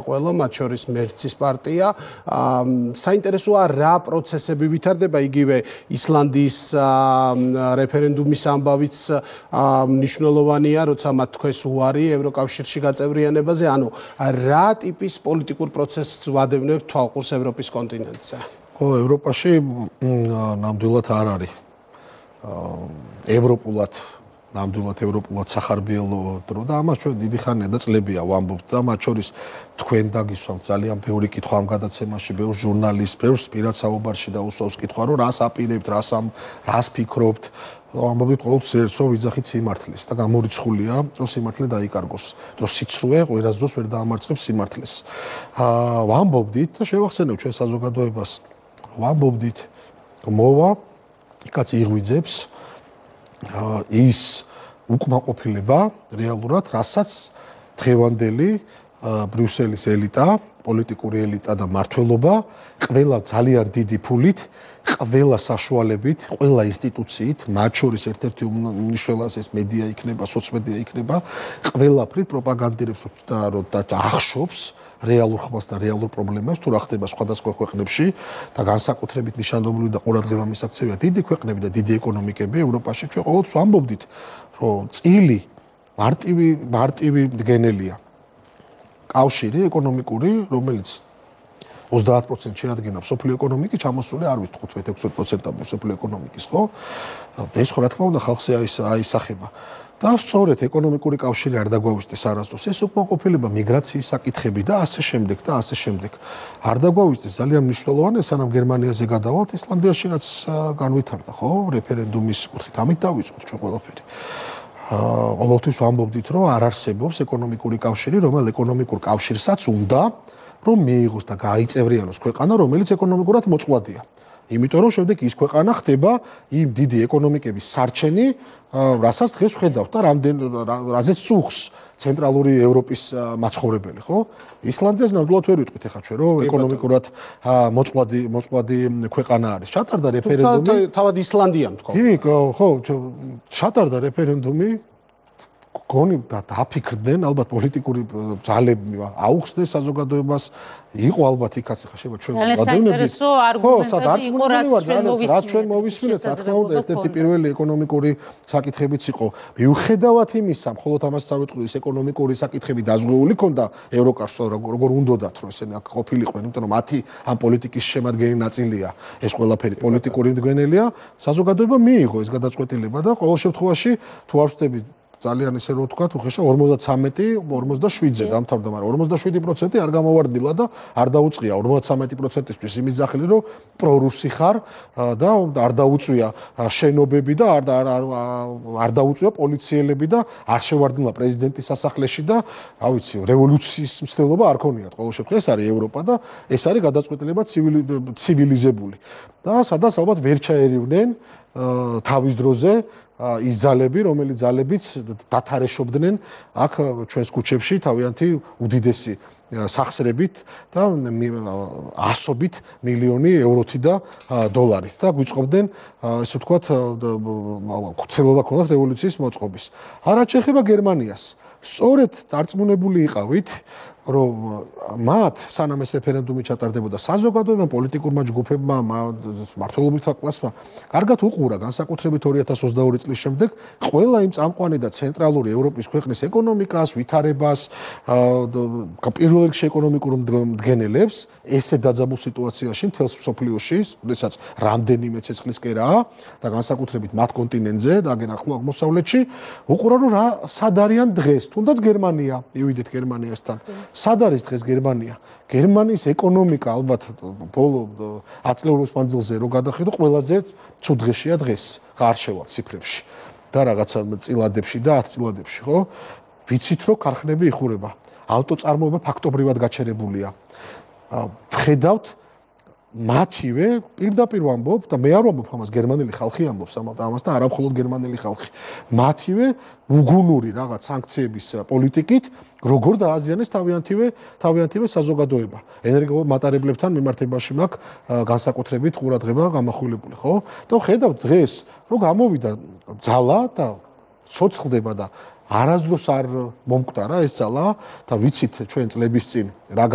ყველა მათ შორის მერცის პარტია. საინტერესოა რა პროცესები ვითარდება იგივე ისლანდიის რეფერენდუმის ამბავიც მნიშვნელოვანია, როცა მათ თქვეს უარი ევროკავშირში გაწევრიანებაზე. ანუ რა ტიპის პოლიტიკურ პროცესს ვადევნებთ თვალყურს ევროპის კონტინენტზე? ხო, ევროპაში ნამდვილად არ არის ევროპულად სახარბიელო დრო და ამას ჩვენ დიდი ხანია და წლებია ვამბობთ და მათ შორის თქვენ დაგისვამთ ძალიან ბევრი კითხვა ამ გადაცემაში, ბევრ ჟურნალისტს, ბევრ პირად საუბარში და უსვავს კითხვა, რომ რას აპირებთ, რას ფიქრობთ. ამბობთ ყოველთვის ერთს, რომ ვიძახით სიმართლეს და გამორიცხულია, რომ სიმართლე დაიკარგოს. რომ სიცრუე ყველას დროს ვერ დაამარცხებს სიმართლეს. ვამბობდით და შევახსენებ ჩვენ საზოგადოებას, ვამბობდით, რომ მოვა, იქაც იღვიძებს ის უკმაყოფილება რეალურად, რასაც დღევანდელი ბრიუსელის ელიტა, პოლიტიკური ელიტა და მმართველობა ყველა ძალიან დიდი ფულით, ყველა საშუალებით, ყველა ინსტიტუციით, მათ შორის ერთ-ერთი უმნიშვნელოვანესი მედია იქნება, სოციმედია იქნება, ყველაფრით პროპაგანდირებს და ახშობს რეალურ ხმას და რეალურ პრობლემებს, თუ რა ხდება სხვადასხვა ქვეყნებში და განსაკუთრებით ნიშანდობლივი და ყურადღება მისაქცევია დიდი ქვეყნები და დიდი ეკონომიკები ევროპაში. ჩვენ ყოველთვის ვამბობდით, რომ წილი მარტივი მდგენელია. კავშირი ეკონომიკური, რომელიც 30% შეადგენდა სოფლიო ეკონომიკის, ჩამოსული არ ვიცი 15-16% სოფლიო ეკონომიკის, ხო? ეს ხო რა თქმა უნდა ხალხზე აისახება. და სწორედ ეკონომიკური კავშირი არ დაგვაუვისდეს არასდროს. ეს უკმაყოფილება, მიგრაციის საკითხები და ასე შემდეგ და ასე შემდეგ. არ დაგვაუვისდეს ძალიან მნიშვნელოვანია, სანამ გერმანიაზე გადავალთ, ისლანდიაში რაც განვითარდა, ხო? რეფერენდუმის კუთხით, ამით დავიწყოთ ჩვენ ყველაფერი. ყოველთვის ვამბობდით, რომ არ არსებობს ეკონომიკური კავშირი, რომელ ეკონომიკურ კავშირსაც უნდა რომ მიიღოს და გაიწევრიანოს ქვეყანა, რომელიც ეკონომიკურად მოწყვლადია. იმიტომ რომ შემდეგ ის ქვეყანა ხდება იმ დიდი ეკონომიკების სარჩენი, რასაც დღეს ვხედავთ და რაზეც წუხს ცენტრალური ევროპის მაცხოვრებელი, ხო? ისლანდიას ნამდვილად ვერ ვიტყვით ახლა ჩვენ, რომ ეკონომიკურად მოწყვლადი ქვეყანა არის. ჩატარდა რეფერენდუმი. თავად ისლანდიამ თქო. ხო, ჩატარდა რეფერენდუმი. გონი დაფიქრდნენ, ალბათ პოლიტიკური ძალები აუხსნეს საზოგადოებას, იყო ალბათ იქაც ხა შეიძლება ჩვენ ვადევნებდით. ხო, სადაც რაც ჩვენ მოვისმინეთ, რა თქმა უნდა, ერთ-ერთი პირველი ეკონომიკური საკითხებიც იყო. მიუხედავად იმისა, მხოლოდ ამას წავიტყვი, ეს ეკონომიკური საკითხები დაზღვეული ქონდა ევროკავშირს, როგორ უნდათ, რომ ესენი აქ ყოფილიყვნენ, იმიტომ რომ მათი ამ პოლიტიკის შემადგენელი ნაწილია. ეს ყველაფერი პოლიტიკური მდგენელია, საზოგადოება მიიღო ეს გადაწყვეტილება და ყოველ შემთხვევაში თუ არ ვწდები ძალიან ისე რო ვთქვა, უხეშა 53-47-ზე დამთავრდა, მაგრამ 47% არ გამოვარდნილა და არ დაუწყია 53%-ისთვის იმის ძახილი, რომ პრორუსი ხარ და არ დაუწვია შენობები და არ დაუწვია პოლიციელები და არ შევარდნილა პრეზიდენტის სასახლეში და, რა ვიცი, რევოლუციის მცდელობა არ ქონიათ. ყოველ შემთხვევაში ეს არის ევროპა და ეს არის გადაწყვეტილება ცივილიზებული. და სადაც ალბათ ვერ ჩაერივნენ თავის დროზე ის ძალები, რომელიც ძალებიც დათარეშობდნენ აქ ჩვენს ქუჩებში თავიანთი უდიდესი სახსრებით და ასობით მილიონი ევროთი და დოლარით და გვიწყობდნენ ესე ვთქვათ ქცელობა ქონდათ რევოლუციის მოწყობის. რაც შეეხება გერმანიას, სწორედ დარწმუნებული იყავით, რომ მათ სანამ ეს რეფერენდუმი ჩატარდებოდა, საზოგადოებამ, პოლიტიკურმა ჯგუფებმა, მმართველობითმა კლასმა კარგად უყურა განსაკუთრებით 2022 წლის შემდეგ ყველა იმ წამყვანი და ცენტრალური ევროპის ქვეყნის ეკონომიკას, ვითარებას, პირველ რიგში ეკონომიკურ მდგენელებს, ესე დაძაბულ სიტუაციაში მთელს მსოფლიოში, როდესაც რამდენიმე ცეცხლისკერაა და განსაკუთრებით მათ კონტინენტზე და აგენ ახლო აღმოსავლეთში, უყურა რომ რა სად არიან დღეს, თუნდაც გერმანია, მივიდეთ გერმანიასთან. სად არის დღეს გერმანია? გერმანიის ეკონომიკა ალბათ ბოლო 10 წლების მანძილზე რო გადახედო, ყველაზე ცუდ დღეშია დღეს, არ შევალ ციფრებში და რაღაცა წილადებში და 10 წილადებში, ხო? ვიცით რომ ქარხნები იხურება. ავტოწარმოება ფაქტობრივად გაჩერებულია. ვხედავთ მათივე პირდაპირ ვამბობ და მე არ ვამბობ ამას, გერმანელი ხალხი ამბობს ამას და არა მხოლოდ გერმანელი ხალხი. მათივე უგუნური რაღაც სანქციების პოლიტიკით როგორ დააზიანეს თავიანთივე საზოგადოება. ენერგომატარებლებთან მიმართებაში მაქვს განსაკუთრებით ყურადღება გამახვილებული, ხო? და ხედავთ დღეს, რომ გამოვიდა ძალა და ცოცხლდება და არასდროს არ მომკვდარა ეს ძალა და ვიცით ჩვენ წლების წინ რა